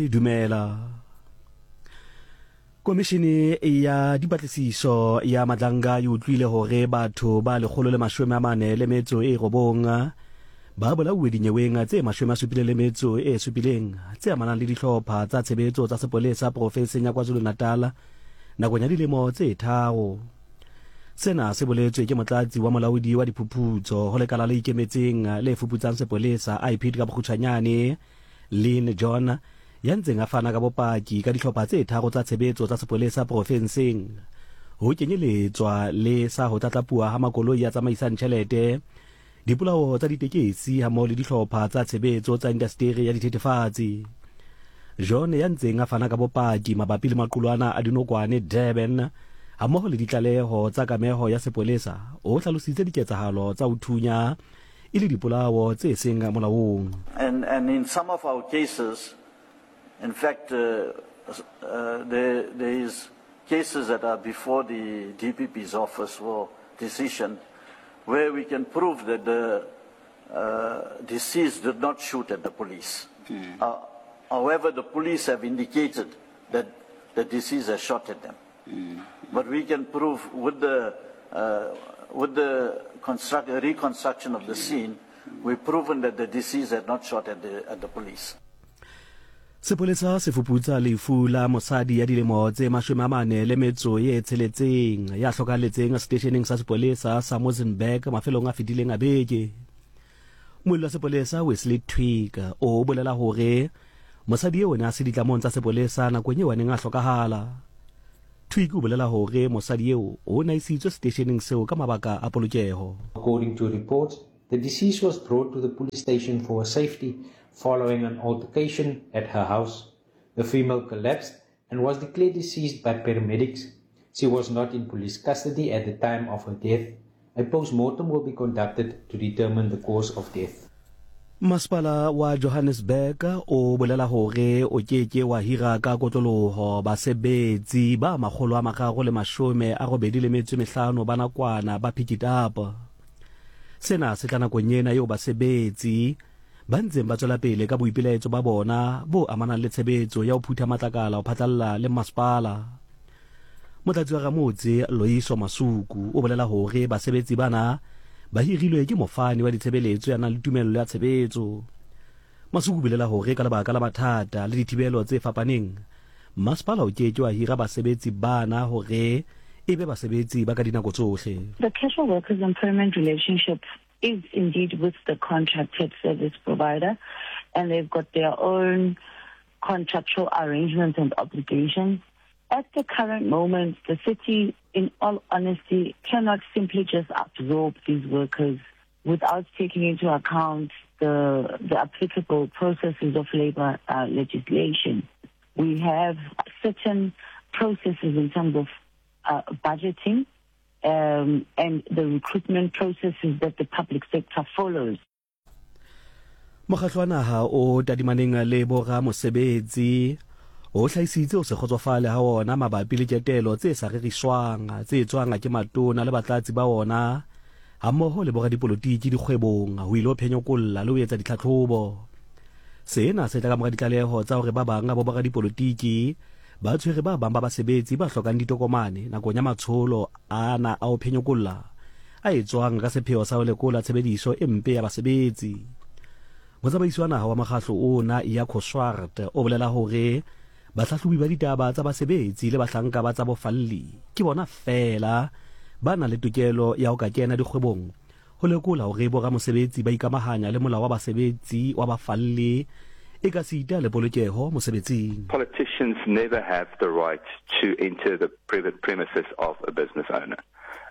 Dumela. Komišene ya dipatlisiso ya Madlanga e utlwile hore batho ba 149 ba bolauwe dinyeweng tse 77 tse amanang le dihlopha tsa tshebetso tsa sepolesa profenseng ya KwaZulu-Natal nakong ya dilemo tse tharo. Sena se boletswe ke motlatsi wa molaodi wa diphuphutso ho lekala le ikemetseng le fuputsang sepolesa, IPID ka bokgutshwanyane, Lynn John, ya ntseng a fana ka bopaki ka dihlopha tse tharo tsa tshebetso tsa sepolesa profenseng, ho kenyeletswa le sa ho tlatlapuwa ha makoloi a tsamaisang tjhelete, dipolao tsa ditekesi hammoho le dihlopha tsa tshebetso tsa indasteri ya dithethefatsi. John, ya ntseng a fana ka bopaki mabapi le maqulwana a dinokwane Durban hammoho le ditlaleho tsa kameho ya sepolesa, o hlalositse diketsahalo tsa ho thunya e le dipolao tse seng molaong. And, and in some of our cases, in fact, uh, uh, there, there is cases that are before the DPP's office for decision where we can prove that the uh, deceased did not shoot at the police. Mm. Uh, however, the police have indicated that the deceased has shot at them. Mm. But we can prove with the, uh, with the construct, reconstruction of the scene, we've proven that the deceased had not shot at the, at the police. Sepolesa se fuputsa lefu la mosadi ya dilemo tse 46 ya hlokahalletseng seteisheneng sa sepolesa sa Muizenberg mafelong a fetileng a beke. Molli wa sepolesa Wesley Twig o bolela hore mosadi eo o ne a se ditlamong tsa sepolesa nakong eo a neng a hlokahala. Twig o bolela hore mosadi eo o ne a isitswe seteisheneng seo ka mabaka a polokeho. According to reports, the deceased was brought to the police station for her safety following an altercation at her house. The female collapsed and was declared deceased by paramedics. She was not in police custody at the time of her death. A post-mortem will be conducted to determine the cause of death. Masepala wa Johannesburg o bolela hore o ke ke wa hira ka kotloloho basebetsi ba 385 ba nakwana ba Pikitup. Sena se tla nakong ena eo basebetsi ba ntseng ba tswela pele ka boipelaetso ba bona bo amanang le tshebetso ya ho phutha matlakala ho phatlalla le masepala. Motlatsi wa ramotse Loyiso Masuku o bolela hore basebetsi bana ba hirilwe ke mofani wa ditshebeletso ya nang le tumello ya tshebetso. Masuku o bolela hore ka lebaka la mathata le dithibelo tse fapaneng, masepala o ke ke wa hira basebetsi bana hore e be basebetsi ba ka dinako tsohle. The casual workers employment relationship is indeed with the contracted service provider, and they've got their own contractual arrangements and obligations. At the current moment, the city, in all honesty, cannot simply just absorb these workers without taking into account the, the applicable processes of labor uh, legislation. We have certain processes in terms of uh, budgeting um, and the recruitment processes that the public sector follows. Mokgatlo wa naha o tadimaneng le boramosebetsi o hlahisitse ho se kgotsofale ha wona mabapi le ketelo tse sa reriswang tse etswang ke matona le batlatsi ba wona hammoho le boradipolotiki dikgwebong ho ilo phenyokolla le ho etsa ditlhatlhobo. Sena se tla ka mora ditlaleho tsa hore ba bang ba boradipolotiki ba tshwere ba bang ba basebetsi ba hlokang ditokomane nakong ya matsholo ana a ho phenyokolla a etswang ka sepheo sa ho lekola tshebediso e mpe ya basebetsi. Motsamaisi wa naha wa mokgahlo ona, Jaco Swart, o bolela hore bahlahlobi ba ditaba tsa basebetsi le bahlanka ba tsa bofalli ke bona feela ba nang le tokelo ya ho ka kena dikgwebong Ho lekola hore boramosebetsi ba ikamahanya le molao wa basebetsi wa bafalli ekasita le polokeho mosebetsing. Politicians never have the right to enter the premises of a business owner.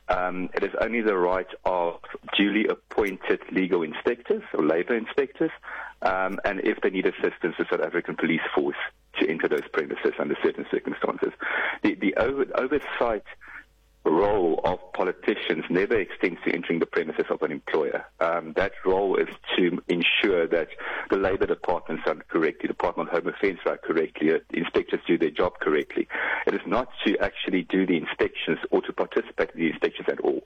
Um, it is only the right of duly appointed legal inspectors or labor inspectors, um, and if they need assistance, the South African Police Force to enter those premises under certain circumstances. The, the over, oversight role of politicians never extends to entering the premises of an employer. Um, that role is to ensure that the Labour Department's done correctly, the Department of Home Affairs done correctly, uh, the inspectors do their job correctly. It is not to actually do the inspections or to participate in the inspections at all.